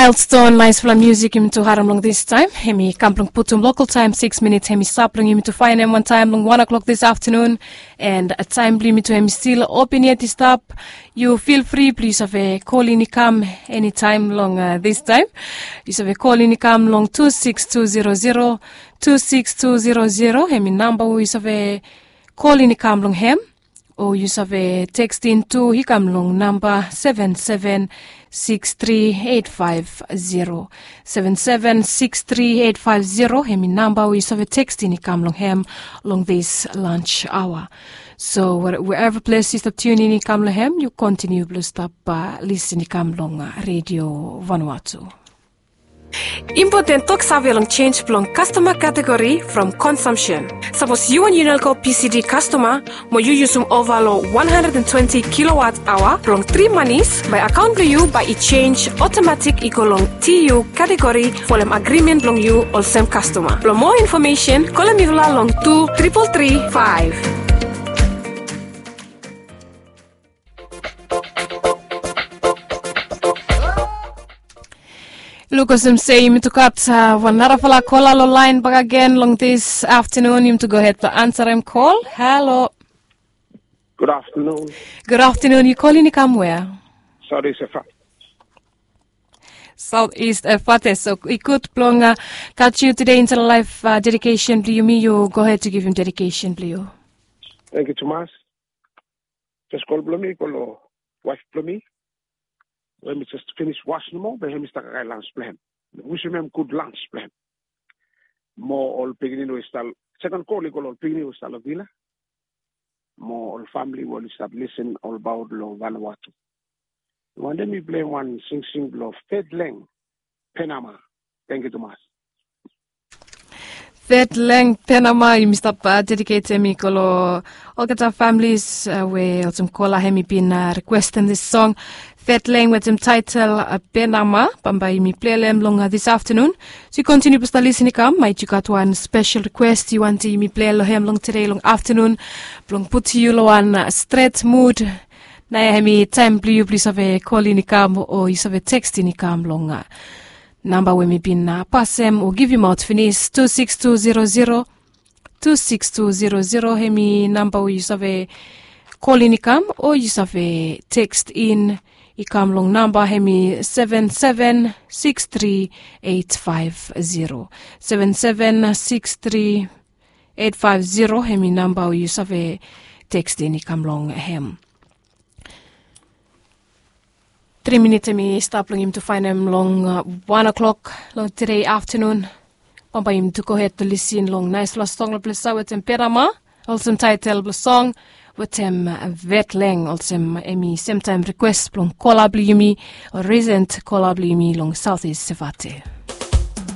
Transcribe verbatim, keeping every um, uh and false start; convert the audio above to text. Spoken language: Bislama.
Milestone, naisfala musik yumi tu harim long this time. Hemi kam blong putum local time six minutes. Hemi stap blong yumi tu fainem wan taem long one o'clock this afternoon. And taem blong yumi tu hemi stil open yet i stap. Yu feel free blong yu save kolin i kam eni taem long this time. Yu save kolin i kam long two six two zero zero, two six two zero zero. Hemi namba we yu save kolin i kam long hem. O yu save tekstin tu i kam long namba seven seven six three eight five zero. Seven seven six three eight five zero. Hemi namba we yu save tekstin i kam long hem long this lunch hour. So wherever ples yu stap tiunin i kam long hem, yu kontiniu blong stap lisin i kam long redio Vanuatu. Impoten toksave long sens blong kastoma kategori from konsumsen. Sapos yu wan Unelco P C D kastoma mo yu yusum ova long one hundred and twenty kilowatt aoa blong tri manis, bae akaon blong yu bae i sens otomatik i go long T U kategori folem agrimen blong yu olsem kastoma. Blong moa infomesen kolem mifala long tu tripol tri faef. Luk olsem se yumi tu gat wan narafala kola long laen bakegen long this aftenun. Yumi tu gohed blong ansarem kol. Halo. Gud aftenun. Gud aftenun. Yu kolin i kam wea? Saut Ist Efate. Saut Ist Efate. So i gud blong gat yu tude insaed long laef dedikesen blong yumi. Yu gohed tu givim dedikesen blong yu. Tangkiu tumas. Jes kol blong mi i go long waef blong mi we mi jes finis was nomo, be hem i stap kakae lans blong hem. Wisim hem gud lans blong hem. Mo ol pikinini we i stap, seken kol i go long ol pikinini we i stap long vila mo ol famili we oli stap lisin olbaot long Vanuatu. Wantem mi plei wan singsing blong Fedleng Penama. Tangkiu tumas. Fedleng Penama, yumi stap dediketem i go long olgeta familis we olsem kola hem i bin rikwestem this song. Fedleng wetem taetel Penama, bambae yumi plei long hem long this aftenun. So yu kontiniu blong stap lisin i kam, maet yu gat wan spesel rikwes yu wantem yumi plei long hem long tude long aftenun blong putum yu long wan stret mud. Naoia hem i taem blong yu blong yu save kolin i kam o yu save tekstin i kam long namba we mi bin pasem o givimaot finis, tu sikis tu zero zero, tu sikis tu zero zero. Hem i namba we yu save kolin i kam o yu save tekstin i kam long namba hem i seven seven six three eight five zero, seven seven six three eight five zero. Hem i namba we yu save tekstin i kam long hem. Tri minit hem i stap long yumi tu faenem long wan o'klok long tude aftenun. Bambae yumi tu gohed tu lisin long naesfala song long ples ya wetem Penama, olsem taetel blong song wetem Fedleng, olsem hem i semtaem rikwes blong kola blong yumi, o risent kola blong yumi long Saut Ist Efate.